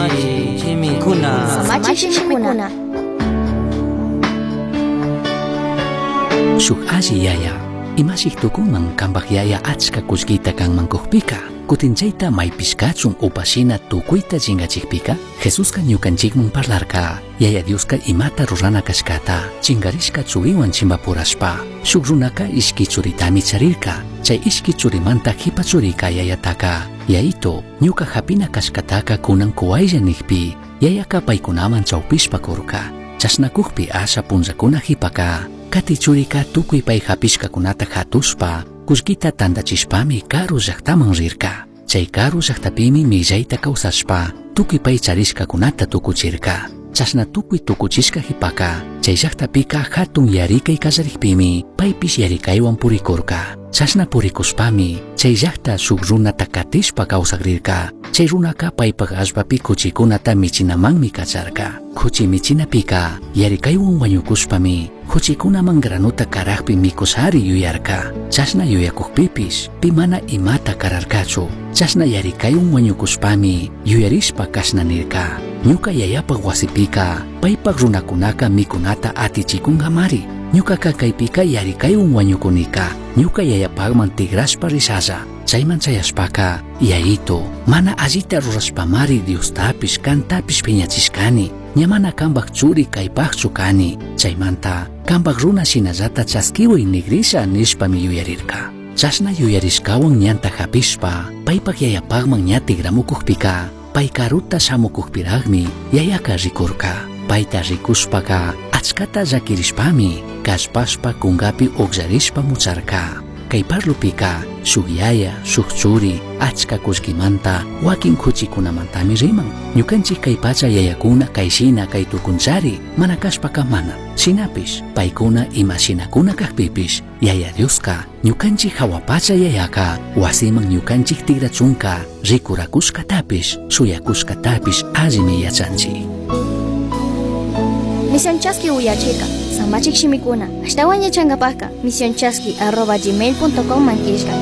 Samachik shimikuna. Samachik shimikuna. Shuk alli yaya, imashik tukunman kanpak yaya achka kullkita kanman kukpika, kutin chayta maypish kachun upashina tukuyta chingachikpika, Jesuska ñukanchikman parlarka, Yaya Dioska imata rurana kashkata, chingarishka churiwan chimbapurashpa, shuk runaka ishki churitami charirka, chay ishki churimanta jipa churika yayataka, Yayito, ñuka hapina kashkataka kunan kuwaylla nikpi, yayaka paykunaman chawpishpa kurka, chashnakukpi asha punllakuna jipaka, kati churika tukuy pay hapishkakunata hatushpa, kullkita tantachishpami karu llaktaman rirka. Chay karu llaktapimi millayta kawsashpa, tukuy pay charishkakunata tukuchirka. Chashna tukuy tukuchishka jipaka, chay llaktapika hatun yarikay kallarikpimi, paypish yarikaywan purikurka. Chashna purikushpami, chay llakta shuk runata katishpa kawsakrirka. Chay runaka paypak allpapi kuchikunata michinamanmi kacharka. Kuchi michinapika, yarikaywan wañukushpami, kuchikunaman granuta karakpi mikushari yuyarka. Chashna yuyakukpipish, pi mana imata kararkachu. Chashna yarikaywan wañukushpami, yuyarishpa kashna nirka. Ñuka yayapak wasipika, paypak runakunaka mikunata atichikunkamari. Ñukaka kaypika yarikaywan wañukunika, ñuka yayapakman tigrashpa rishalla. Chayman chayashpaka, yayito, mana allita rurashpamari Diostapish kantapish piñachishkani, ña mana kanpak churi kaypakchu kani. Chaymanta, kanpak runa shinallata chaskiway nigrisha nishpami yuyarirka. Chashna yuyarishkawan ñanta hapishpa, paypak yayapakman ña tigramukukpika, pay karuta shamukukpiraqmi yayaka rikurka. Payta rikushpaka, achkata llakirishpami, kallpashpa kunkapi ukllarishpa mucharka. Kay parlupika, shuk yaya, shuk churi, achka kullkimanta, wakin kuchikunamantami riman. Ñukanchik kay pacha yayakuna kayshina kay tukunchari, mana kashpaka mana. Shinapish, paykuna imashinakuna kakpipish, Yaya Dioska, ñukanchik hawa pacha yayaka, wasiman ñukanchik tigrachunka, rikurakushkatapish, shuyakushkatapish allimi yachanchik. Misión Chaski uyachika, Samachik shimikuna. Ashtawan yachankapaka, misionchaski@gmail.com mankishka.